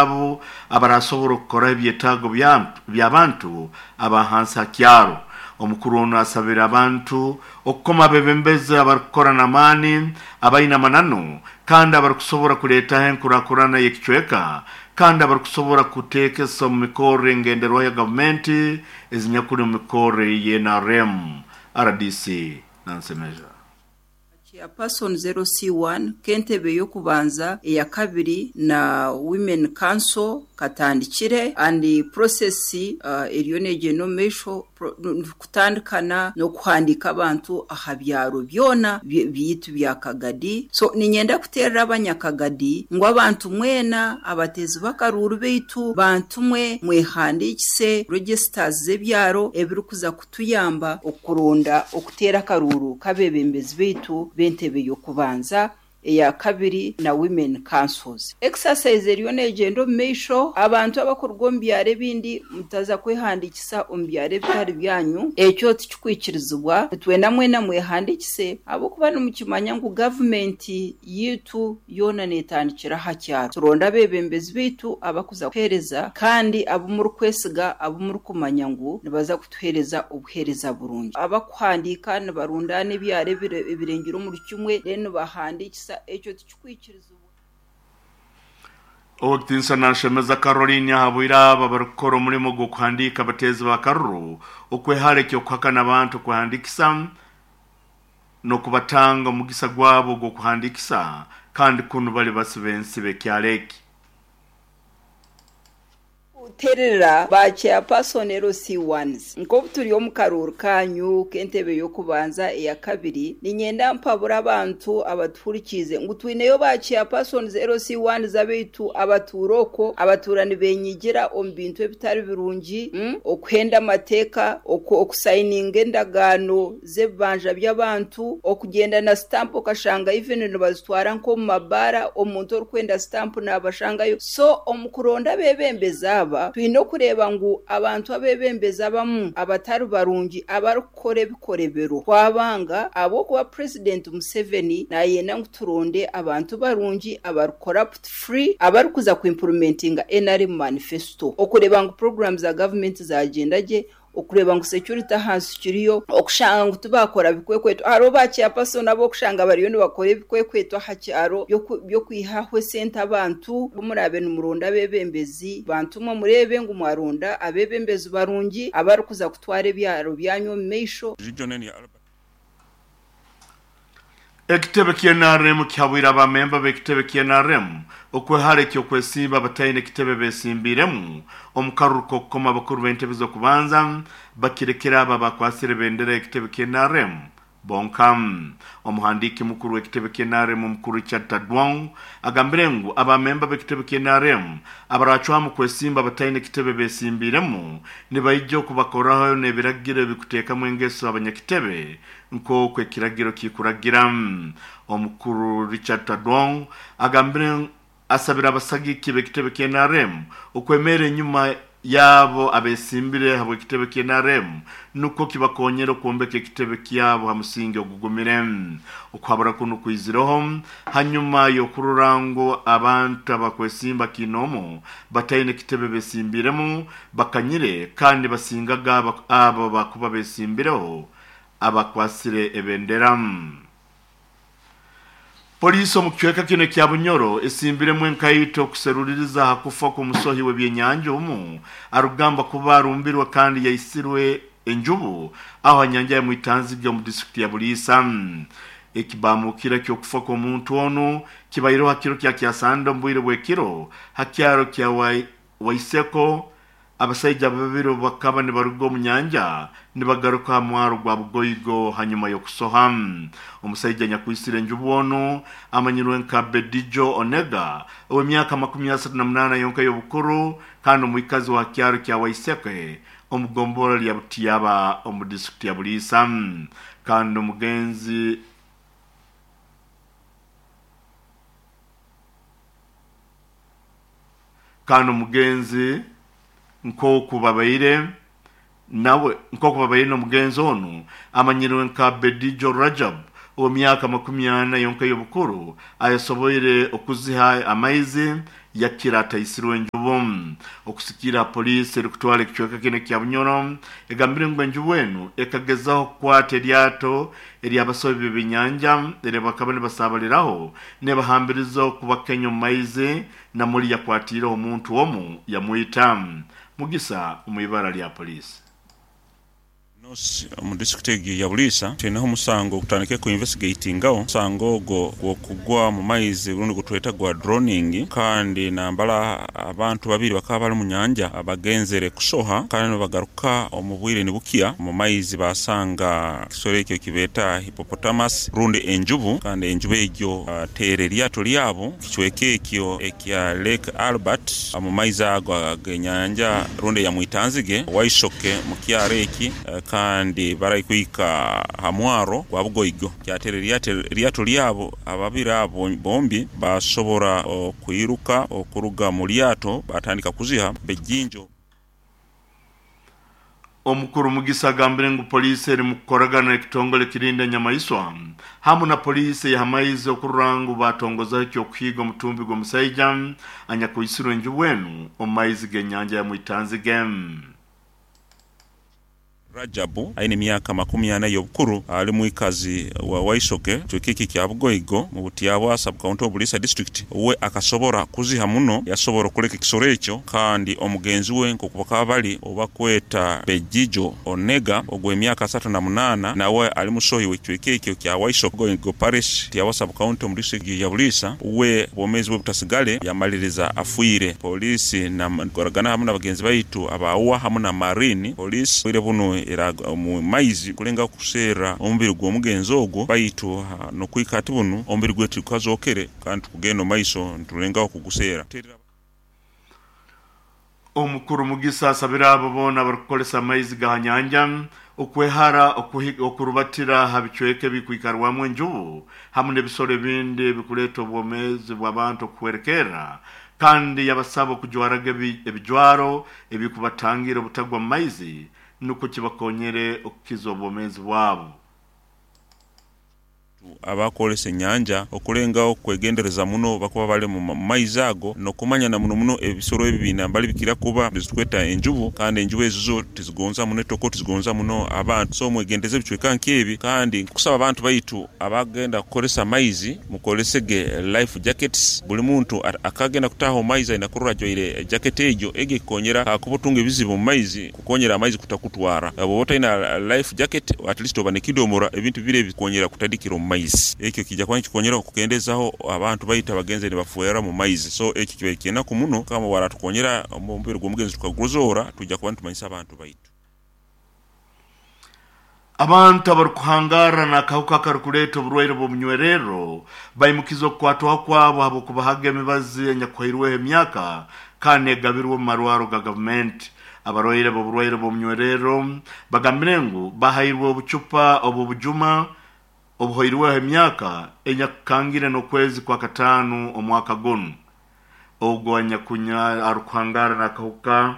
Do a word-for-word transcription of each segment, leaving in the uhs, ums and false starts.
Abo abarasobora okukora ebyetaago by'abantu abahansi ha kyaro. Omukuru ono asabira abantu okukoma abebembezi abarikukora n'amaani, abaine amananu, kandi abarikusobora kuleetaho enkurakurana y'ekicweka, kandi abarikusobora kuteekesa omu mikorre engenderwaho ya gavumenti ezinyakuli omu mikorre y'N R M. R D C Nansemeja. Chairperson zero C one kentebe yokubanza eya kabiri na Women Council katandikire and the process uh, eriyo negenda omu maisho kutandikana n'okuhandika abantu aha byaro byona byitu bya Kagadi. So ninyenda kuterera abanyakagadi ngu abantu mwena abatezi bakaruru beitu bantu mwe mwehandikise registers z'ebyaro ebirikuza kutuyamba okuronda okutera akaruru kabebembezi beitu bentebe yokubanza eya kabiri na Women Councils. Exercise eriyo negenda omu maisho, abantu abakuruga omu byaro ebindi mutaza kwehandikisa omu byaro ebitari byanyu, ekyo tikikwikirizibwa. Twena mwena mwehandikise ahabw'okuba nimukimanya ngu gavumenti yitu yoona netandikira aha kyaro. Turonda abebembezi beitu abakuza kuhereza kandi abo murikwesiga, abo murikumanya ngu nibaza kutuhereza obuhereza burungi. Abakuhandika nibarundana ebyaro ebirengire omuri kimwe, then nibahandikisa ekyo tikikwikirizibwa. Owekitinisa Nanshemeza Caroline ahabwira aba barikukora omurimo gw'okuhandiika abateezi ba karuru okwehara eky'okuhakana abantu kuhandikisa n'okubatanga omugisa gwabo gw'okuhandikisa, kandi kunu bali basiba ensi b'ekyaro eki. Terera ba chairperson L C ones nko turi omu karuru kanyu kentebe yokubanza eya kabiri, ninyenda mpabura abantu abatuhurikize ngu twineyo ba chairperson L C ones abeitu abaturoko abaturani benyigira omu bintu ebitari birungi, mm? Okuhenda amateeka, okusayininga endagaano z'ebibanja by'abantu, okugenda na stamp okashanga even nibazitwara nko mu mabara, omuntu orikwenda stamp nabashangayo. So omukuronda bebembeza aba twine okureba ngu abantu abebembeza abamu abatari barungi abarikukora ebikorebero twabanga, ahabw'okuba President Museveni nayenda ngu turonde abantu barungi abari corrupt free abarikuza kuimplementinga N R M manifesto, okureba ngu programs za government zagenda gye, okureba ngu security ahansi kiriyo, okushanga ngu tubakora bikwekweto. Hariho ba chairperson abo okushanga bariyo nibakora ebikwekweto aha kyaro by'okwihaho esente abantu. Murabe nimuronda abebembezi bantu mwe murebe ngu mwaronda abebembezi barungi abarikuza kutwara ebyaro byanyu omu maisho. Ekitebe kya N R M kihabwira abamemba b'ekitebe kya N R M okwehara eky'okwesimba abataine ekitebe besimbiremu omu karuru k'okukoma abakuru b'entebe z'okubanza bakirekera aba bakwasire bendera y'ekitebe kya N R M bonka. Omuhandiiki mukuru w'ekitebe kya N R M omukuru Richard Tadwong agambire ngu abamemba b'ekitebe kya N R M abaracwamu kwesimba abataine ekitebe besimbiremu nibaija okubakoraho n'ebiragiro ebikuteekamu engeso abanyakitebe nk'oku ekiragiro kikuragira. Omukuru Richard Tadwong agambire asabira abasagiki b'ekitebe kya N R M okwemera enyuma yabo abesimbire habw'ekitebe kya N R M nukwo kibakonyera okwombeka ekitebe kyabo ha musingi ogugumire. Okuhabura kuno kwizireho hanyuma y'okurora ngu abantu abakwesimba kinomu bataine ekitebe besimbiremu bakanyire kandi basingaga abo bakuba besimbireho abakwasire ebendera. Polisi omu kicweka kino kya Bunyoro esimbiremu enkaito okuseruliriza aha kufa kw'omusohi w'ebyenyanja omu arugamba kuba arumbirwe kandi yaisirwe enjubu aho nyanja ya Mwitanzige omu disitulikiti ya Buliisa. Ekibamukira ky'okufa kw'omuntu ono kibaireho ha kiro kya Kyasanda omu bwire bw'ekiro ha kyaro kya Waiseko. Abasaija babiri bakaba nibaruga omu nyanja nibagaruka ha mwaro gwa Bugoigo hanyuma y'okusoha. Omusaija nyakwisire enjubu ono amanyirwe nka Bedijo Onega ow'emyaka makumi asatu na munaana yonka y'obukuru kandi omwikazi wa kyaro kya Waiseke omu gombora lya Butiyaba omu disitulikiti ya Buliisa. Kandi omugenzi kandi omugenzi nk'oku babaire nawe nk'oku babaire n'omugenzi onu amanyirwe nka Bedijo Rajab ow'emyaka makumi ana yonka y'obukuru ayasoboire okuziha amaizi yakira ataisirwe enjubu. Okusikira polisi erikutwara ekicweka kino kya Bunyoro egambire ngu enjubu enu ekagezaho kukwata eryato eryabasobi b'ebyenyanja eri bakaba nibasabaliraho nebahambiriza okubakenya omu maizi namuli yakwatiireho omuntu omu yamwita. Mugisa omu ibara lya polisi. Omu disitulikiti ya Buliisa twinaho omusango ogutandikire ku investigatingaho omusango ogwo gw'okugwa mu maizi rundi gutweta gwa drowning, kandi nambala abantu babiri bakaba bali mu nyanja bagenzere kusoha kandi bagaruka omu bwire nibukya mu maizi basanga ekisoro ekyo kibeeta hippopotamus rundi enjubu, kandi enjubu egyo teera eryato lyabo kicweka ekyo ekya Lake Albert mu maizi ago ag'enyanja rundi ya Mwitanzige Waishoke mu kyaro eki, kandi barakwika ha mwaro gwa Bugoigo kyatera eryato lyabo. Ababiri abo bombi basobora okwiruka okuruga mu lyato batandika kuziha bejinjo. Omukuru Mugisa agambire ngu polisi eri mu kukoragana ekitongole kirinda enyamaiswa hamu na polisi y'amaizi okurora ngu batongozaho ekyokuhiiga omutumbi gw'omusaija anyakuisirwe enjubu enu omu maizi g'enyanja ya Mwitanzige. Rajabu aine emyaka makumi ana y'obukuru ali mwikazi wa Waishoke kicweka kya Bugoigo mu Butyabwa sub-county of Buliisa district. We akasobora kuziha muno yasobora okuleka ekisoro ekyo, kandi omugenzi we nk'oku bakaba bali obakweta Bejijo Onega ogw'emyaka asatu na munaana nawe ali musohi w'ekicweka ekyo kya Waishoke Bugoigo parish Butyabwa sub-county omu district ya Buliisa. We obwomeezi bwe butasigale yamaliriza afiire. Polisi nakoragana hamu n'abagenzi baitu abaawa hamu na marine polisi bwire buno era mu maizi kulenga kuseera omubiri gw'omugenzi ogwo, baitu n'okwika ati bunu omubiri gwe tukazokere kandi tukugenda maiso ntulengaho kuguseera. Omukuru Mugisa asabira abo boona abarikukoresa amaizi ga nyanja okwehara okurubatira ha bicweka ebikwikarwamu enjubu hamu n'ebisoro ebindi ebikuleeta obwomeezi bw'abantu okuhwerekerra, kandi yabasaba okujwaraga ebijwaro ebikubatangira obutagwa mu maizi nukwo kibakonyere okukiza obwomeezi bwabo. Abakolesa enyanja okulengaho okwegendereza muno bakuba bali mu maizi ago n'okumanya na muno muno ebisoro ebi binambali bikira kuba bizitweta enjubu, kandi enjubu ezo zo tizigonza muno etoko, tizigonza muno abantu, so mwegendeze ebicweka nk'ebi. Kandi nkusaba abantu baitu abagenda kukolesa amaizi mukolesege life jackets. Buli muntu akagenda kutaha omu maizi aina kurora ajwaire jacket egyo, egyo ekukonyera kakuba otunga ebizibu mu maizi kukonyera amaizi kutakutwara. Bw'oba otaina life jacket at least oba nekidomora ebintu bibiri ebikukonyera kutadikira omu maizi. Ekyo kijja kuba nikikonyera okukendezaho abantu baitu abagenzi nibafuera mu maizi, so ekyo kibaire kyenaku muno. Kama waratukonyera omubiri gw'omugenzi tukaguzoora tujja kuba nitumanyisa abantu baitu. Abantu abarikuhangara n'akahuka akarikuleeta oburwaire bw'omunywerero baimukiza okukwatwaho kwabo habw'okubahaga emibazi enyakuhairweho emyaka kandi egabirwe omu marwaro ga gavumenti. Abarwaire b'oburwaire bw'omunywerero bagambire ngu bahairwe obucupa obw'obujuma obuhoirweho emyaka enyakukangire n'okwezi kwa kataano omwaka gunu. Ogwo anyakunya arikuhangara n'akahuka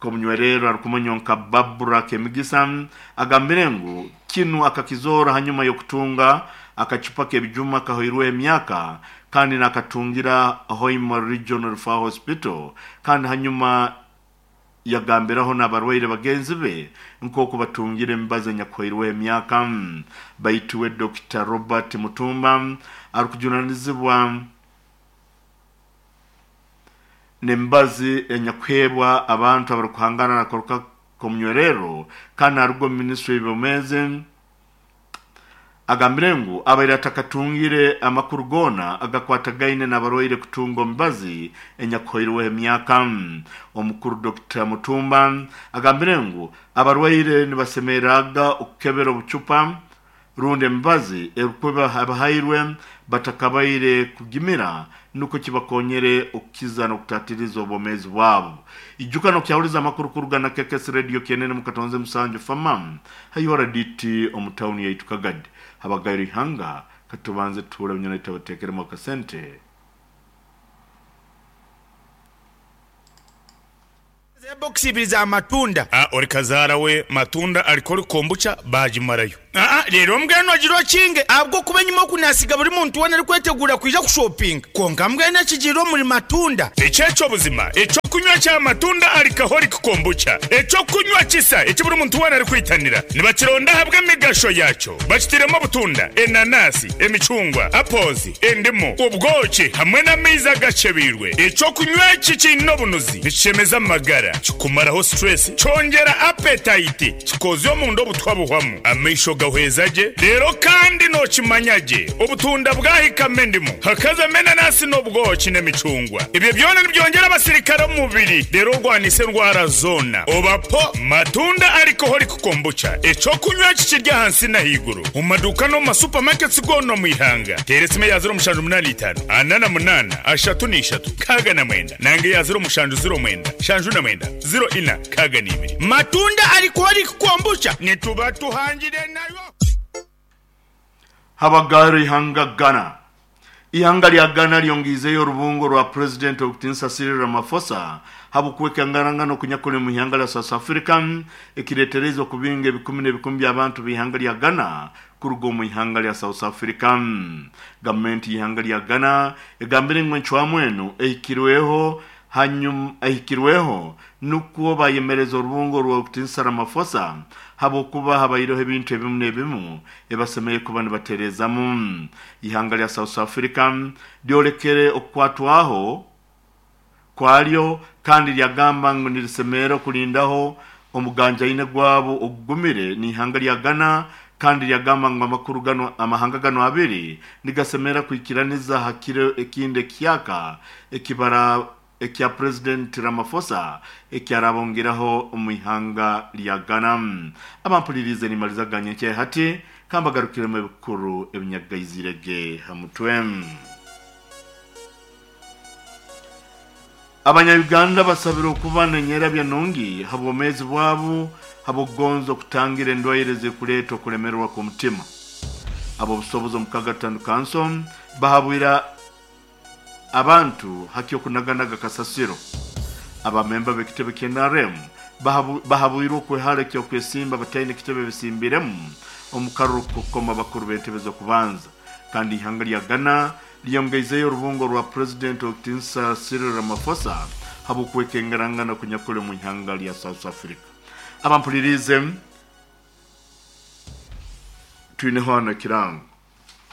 k'omunywerero arikumanywa nka Babura Kemigisa agambire ngu kinu akakizoora hanyuma y'okutunga akacupa k'ebijuma kahoirweho emyaka kandi nakatungira Hoima Regional Referral Hospital, kandi hanyuma yagambiraho n'abarwaire bagenzi be nk'oku batungire emibazi enyakuhoirweho emyaka. Baitu we Dokita Robert Mutumba arikujunanizibwa n'emibazi enyakuheebwa abantu abarikuhangana n'akahuka k'omunywerero kandi aruga omu minisitule y'ebyobwomeezi agambire ngu abaire atakatungire amakuru goona agakwatagaine n'abarwaire kutunga omubazi enyakuhoirweho emyaka. Omukuru Dokita Mutumba agambire ngu abarwaire nibasemereraga okukebera obucupa rundi emibazi erikuba abahairwe batakabaire kugimira nuko kibakonyere okukiza n'okutatiriza obwomeezi bwabo. Ijuka n'okyahuriza amakuru kuruga na K K S Radio Kenene mu Katonze Musanju Famam hayora D T omu tawuni yaitu Kagadi habagairo ihanga katubanze tuhure binyona itabatekeremu akasente. Box ibiri za matunda. Ah, ori kazaara we matunda aliko ori kombucha bajimarayo. Aa rero mbwenu ogira okinge ahabw'okuba enyuma okunasiga buri muntu weena arikwetegura kwija kushopinga konka mbwenu ekigiire omuri Matunda. Ekyekyo buzima ekyokunywa kya Matunda Alcoholic Kombucha, ekyokunywa kisa eki buri muntu weena arikwitanira, nibakironda ahabw'emigasho yakyo. Bakitiremu obutunda, enanasi, emicungwa, apozi, endimu, obwoki hamwe n'amaizi agacebiirwe. Ekyokunywa eki kiine obunuzi, nikishemeza amagara, kikumaraho stress, kyongera appetite, kikozya omunda obutwa buhwamu, amaisho gahweza gye. Rero kandi nokimanya gye, obutunda bwahikamo endimu, hakazamo enanasi n'obwoki n'emicungwa, ebyo byona nibyongera abasirikare omu mubiri, rero orwanisa endwara zoona. Obapo Matunda Alcoholic Kombucha, ekyokunywa eki kiri ahansi n'ahaiguru omu maduuka n'omu masupamaketi goona omu ihanga. Teera esimu eya ziro mushanju munaana itaano ana na munaana ashatu n'ishatu nkaaga na mwenda, nange eya ziro mushanju ziro mwenda shanju na mwenda ziro ina nkaaga n'ibiri. Matunda Alcoholic Kombucha nituba tuhangire nayo. Habagaro ihanga Ghana. Ihanga lya Ghana lyongizeyo orubungo rwa President Okitinsa Cyril Ramaphosa habukweka ngarangano kunyakule mu ihanga lya South Africa, ekiretereza okubinga ebikumi n'ebikumi by'abantu b'ihanga lya Ghana kuruga omu ihanga lya South Africa. Gavumenti y'ihanga lya Ghana egambire ngu encwamu enu ehikirweho hanyuma ehikirweho nukwo bayemereza orubungo rwa Okitinsa Ramaphosa habwokuba habaireho ebintu ebimu n'ebimu ebasemeye kuba nibaterezamu. Ihanga lya South Africa lyolekere okukwatwaho kwalyo kandi lyagamba ngu nirisemera okulindaho omuganjaine gwabo ogugumire n'ihanga lya Ghana, kandi lyagamba ngu amakuru gano amahanga gano abiri nigasemera kwikiraniza hakiro ekindi ekyaka ekibara ekya President Ramaphosa ekyarabongeraho omu ihanga lya Ghana. Abampulirize nimalizaganye hati kambagarukiremu ebikuru ebinyagaizirege hamutwe. Abanya-Uganda basabira okuba nenyera byanungi habwomezi bwabo habwokugonza okutangira endwaire zikuleeta okulemererwa kw'omutima. Abo obusobozi omukaga gatano kanso bahabwira abantu haki okunaganaga kasasiro. Abamemba b'ekitebe kya N R M bahabwirwe okwehara ekyokwesimba bataine ekitebe bisimbiremu omu karuru kukoma bakuru b'entebe z'okubanza. Kandi ihanga lya Ghana lyongeizeyo orubungo rwa President Okitinsa Cyril Ramaphosa habw'okwekengerangana kunyakule mu ihanga lya South Africa. Abampulirize twineho hano ekirango.